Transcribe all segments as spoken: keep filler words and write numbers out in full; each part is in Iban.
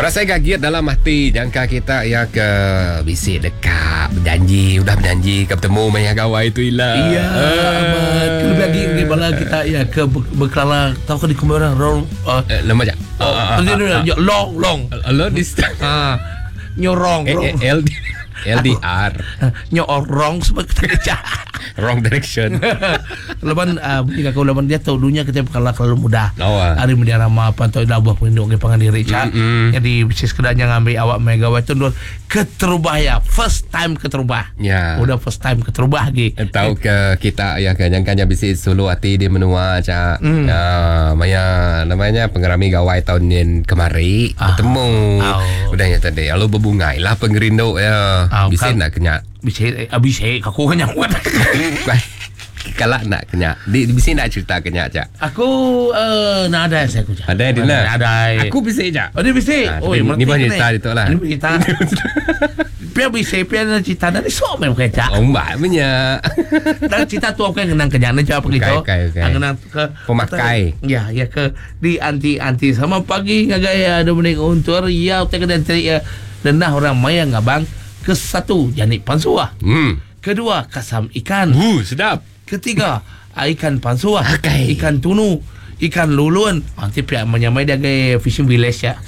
Berasai gagit dalam hati jangka kita ya ke bisi dekat berjanji, udah berjanji ke bertemu maya gawai tu ila. Iya, amat. Lebih lagi bagi bala kita ya ke berkelala tahu ke di orang wrong uh, Eh, nama je. Oh, long long. Lo distance. Ah, nyorong Eh, eh, L L D R. Nyorong sebab kita kerja. Wrong direction. Laban uh, jika kau laban dia tahu dunia kita kalah terlalu mudah. Oh, ah. Hari media ramah apa atau dah buah pelindung ke pangan diri cak. Mm-mm. Jadi bisa sekedarnya ngambil awak megawatt itu dulu keterubah ya, first time keterubah. Ya. Udah first time keterubah lagi. Tahu ke kita ya ke jangkanya bisi sulu hati di menua cak. Mm. Ya, maya namanya pengerami gawai tahun ni kemari Ah. bertemu. Oh. Udahnya tadi lalu berbungai lah pengerindu ya. Ah, Bisi kan- nak kenyak. Bisa eh, bisa aku kan nyamuk. Kalau nak kenyak. Di bisi nak cerita kenyak cak. Aku uh, nak ada saya aku cak. Ada di Ada. nak. Ada. Aku bisi cak. Oh, dia bisa. Ah, Oh, tapi ni pun cerita itu lah. Ini cerita. Pia bisa, pia nak cerita dari sok memang cak. Oh, mbak punya. Dan cerita tu aku yang kenang kenyang ni jawab begitu. Okey, okey, okey. Kenang ke Pemakai. Ya, ya ke di anti anti sama pagi ngagai ya Dominic Untur ya utai ke dan cari ya denah orang maya ngabang ke satu janik pansuah. Hmm. Kedua kasam ikan. Uh, sedap. Ketiga ikan pansuah. Okey. Ikan tunu, ikan lulun. Nanti pihak menyamai dia ke fishing village ya.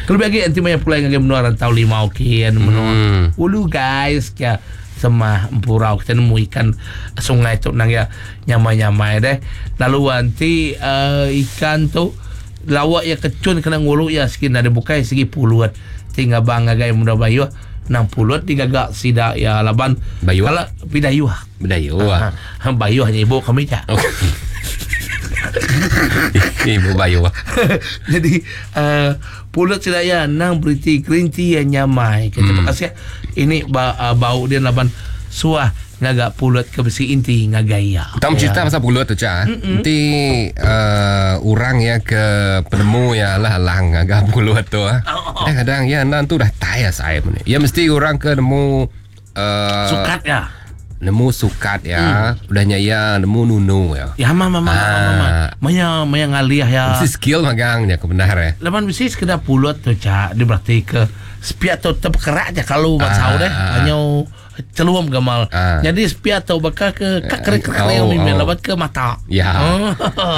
Kalau lagi nanti maya pulai ngagai menua rantau lima okey menua. Hmm. Ulu guys ya semah empurau kita nemu ikan sungai tu nang ya nyamai-nyamai deh. Lalu nanti uh, ikan tu lawak ya kecun kena ngulu ya segi ada bukai segi puluat tinggal bang ngagai muda bayu enam puluh digagak sida ya laban Bayu? kalau pidayu Berdayu ha, ah. ha, bayu hanya ibu kami ja. Oh. Ibu Bayu. ah. Jadi uh, pulut sida ya nang beriti green tea yang nyamai. Kita hmm. kasih ini ba, uh, bau dia laban suah ngagak pulut ke besi inti ngagaya. Kita cerita pasal pulut tu cak. Nanti uh, orang ya ke penemu ya lah lang agak pulut tu ah. Kadang-kadang ya nan tu dah tai saya ni. Ya mesti orang ke nemu uh, Sukat ya. Nemu sukat ya. Udahnya ya nemu nunu ya. Ya mama mama Ah. mama. Maya maya ngaliah ya. Mesti skill magangnya kebenar ya. Laban besi sekedar pulut tu cak dia berarti ke sepiak tu terkerak je kalau buat Ah, sahur deh. ah. Hanya celuam gamal. Ah. Jadi sepiak tu bakal ke kak kering kering Oh, oh, oh. laban ke mata. Ya. Oh.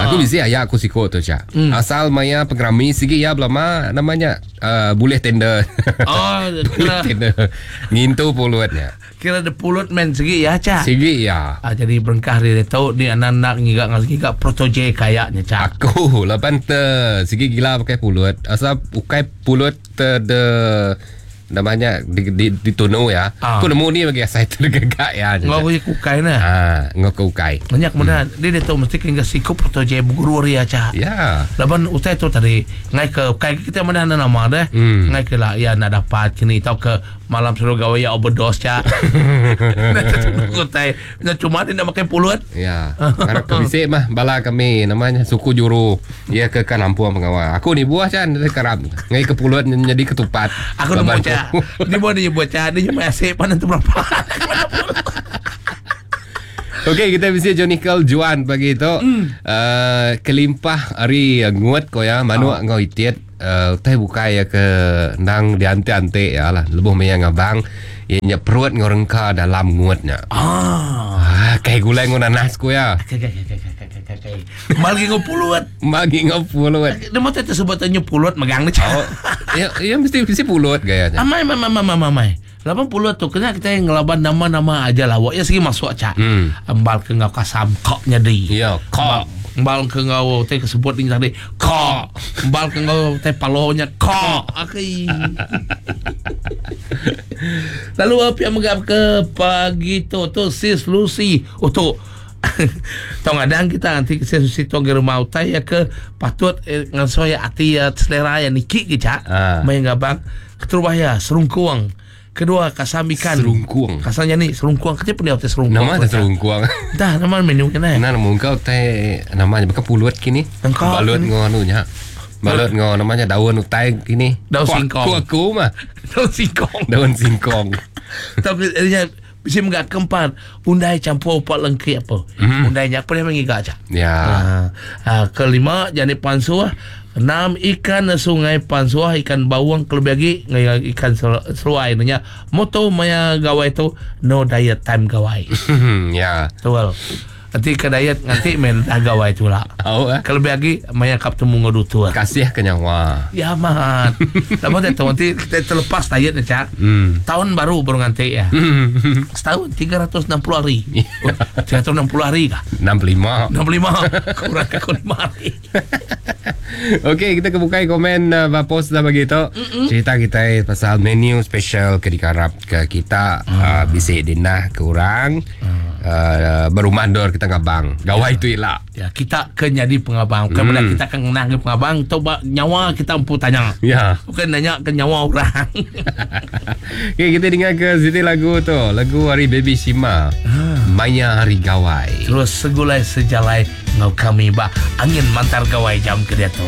Aku bisi ayah aku siko tu cak. Hmm. Asal maya pengerami sigi ya belama namanya uh, boleh tender. Oh, Boleh kira tender. Ngintu pulutnya. kira the pulut men segi ya cak. Sigi ya. Ah, jadi berengkah dia tahu ni anak-anak ngigak ngigak protoje kayaknya cak. Aku lapan te sigi gila pakai pulut. Asal ukai pulut te de namanya di di, di tunu ya. Ah. Aku nemu ni bagi saya tergagak ya. Ngau ku kukai nah. Ah, ngau ke ukai. Banyak mana dia dia tahu mesti kena siku protoje guru ria cak. Ya. Laban utai tu tadi ngai ke kai kita mana ada nama deh. Hmm. Ngai ke lah ya nak dapat kini tau ke malam suruh gawe ya overdose cak. Nak utai nak cuma dia nak makan pulut. Ya, karena kebisik mah bala kami namanya suku juru. Ya ke kan ampuang pengawal. Aku ni buah can dari kerap. Ngai ke pulut jadi ketupat. Aku nemu Laban cak. Dia buat dia buat cak dia cuma asyik panan tu berapa. Okey, kita bisa Johnny Juan pagi itu. Mm. Uh, kelimpah hari nguat ko ya, manu oh. ngau itiet uh, teh bukai ya ke nang diante-ante ya lah. Lebuh maya ngabang ya perut ngau rengka dalam nguatnya. Ah. Ah, kai gulai ngau nanas ko ya. Kai kai kai kai kai kai kai. Malgi ngau pulut. Magi ngau pulut. Dia mau tersebut pulut megang ni cak. Oh, ya, ya mesti mesti pulut gayanya. Amai, amai, amai, amai, amai. Lapan puluh tu kena kita yang ngelaban nama-nama aja lah. Wak ya segi masuk cak. Hmm. Embal ke ngau kasam koknya di. Ya, kok. Embal ke ngau teh kesebut ni tadi kok. Embal ke ngau teh palonya kok. Okey. Lalu apa yang megap ke pagi tu tu sis Lucy. Oh tu. Tong adang kita nanti sis Lucy tu ke rumah utai ya ke patut eh, ngan ya ati ya selera ya niki ke cak. Ah. Main ngabang keterubah ya serungkuang. Kedua kasam ikan. Serungkuang. Kasamnya ni serungkuang. Kenapa dia hotel serungkuang? Nama ada serungkuang. Dah nama menu kena. Nah, nama kau teh namanya bukan pulut kini. Engkau Balut kini. ngau anunya. Balut ngau namanya daun utai kini. Daun Ku- singkong. Aku aku mah Daun singkong. daun singkong. Tapi dia Bisa enggak keempat undai campur upak lengki apa. Mm. Undai nya apa dia mengiga aja. Ya. Ha, ha, kelima jani pansuh, enam ikan sungai pansuh, ikan bawang kelebih lagi ngai ikan seruai nya. Moto maya gawai tu no diet time gawai. Ya. Betul. Nanti ke diet nganti main dah gawai tu lah. Oh, eh. Kelebih lagi maya kap temu ngodu tu. Kasih ke nyawa. Ya amat. Lama tak tahu nanti kita terlepas diet ni cak. Hmm. Tahun baru baru nganti ya. Setahun tiga ratus enam puluh hari. tiga ratus enam puluh hari kah? enam puluh lima. enam puluh lima. Kurang aku lima hari. Okey, kita kebukai komen uh, post dah bagi tu. Cerita kita pasal menu special ke dikarap ke kita mm. uh, bisik dinah ke orang. Mm. Uh, berumah dor kita ngabang. Gawai tu ila. Ya, kita ke jadi pengabang. Bukan mm. kita kan ngenah ke pengabang tu nyawa kita empu tanya. Ya. Bukan nanya ke nyawa orang. Okey, kita dengar ke sini lagu tu. Lagu hari Baby Shima. Ah. Maya Hari Gawai. Terus segulai sejalai ngau kami ba angin mantar gawai jam ke dia tu.